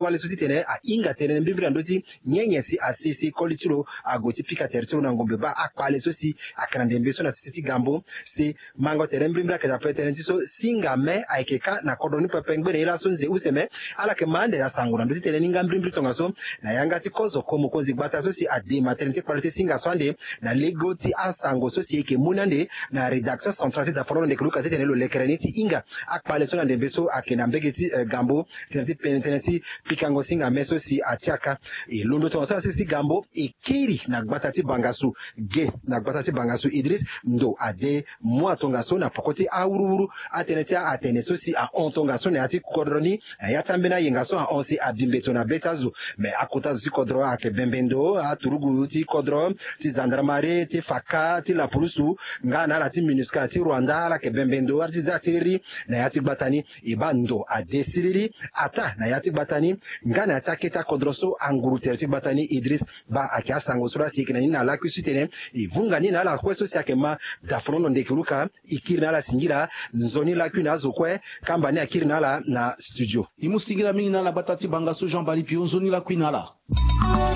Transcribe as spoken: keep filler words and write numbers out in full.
wali so ti tene ahinga tënë mbirimbiri na ndö ti nyenye si asi si koli ti lo ague ti pika tere ti lo na ngombe baa akpale so si ayeke na ndembe so na sese ti gambo. Si mango tere mbirimbiri ayeke daa pe tënë ti so singa me ayeke kâ na kodro ni pepe ngbene ye laso nze use me. Ala yeke ma ande asango na ndö ti tënë ni nga mbirimbiri tongaso na yanga ti kozo ko mokonzi gbata so si adema tënë ti kpale ti singa so ande na lego ti asango so si e yeke mu ni ande na rédaction centrale ti daforono ndeke luka titene lo lekere ni ti hinga akpale so na ndembe so ayeke na mbege ti eh, gambo tënë ti pene tënë ti pikango singa me so si atiaka. E londo tongaso na sese ti gambo e kiri na gbata ti bangasu ge na gbata ti bangasu Idris ndo ade mua tongaso na poko ti awuruwuru atënë ti atene so si ahon tongaso na ya ti kodro ni na ya ti ambeni ayenga so ahon si abi mbeto na be ti azo. Me akota zo ti kodro ayeke bembe ndo aturugu ti kodro ti gendarmerie ti faka ti lapulusu nga na ala ti minusca ti rwanda ala yeke bembe ndo ala ti za siriri na ya ti gbata ni. E baa ndo ade siriri ataa na ya ti gbata ni nga na ya ti akete akodro so anguru tere ti gbata ni Idris baa ayeke asango so laa si e yeke na ni na lakui so ti tene e vunga ni na ala kue so si ayeke ma daforono ndeke luka e kiri na ala singila. Nzoni lakui na azo kue kamba ni akiri na ala na studio. E mu singila mingi na ala gbata ti bangasu Jean Bali Pio nzoni lakui na ala.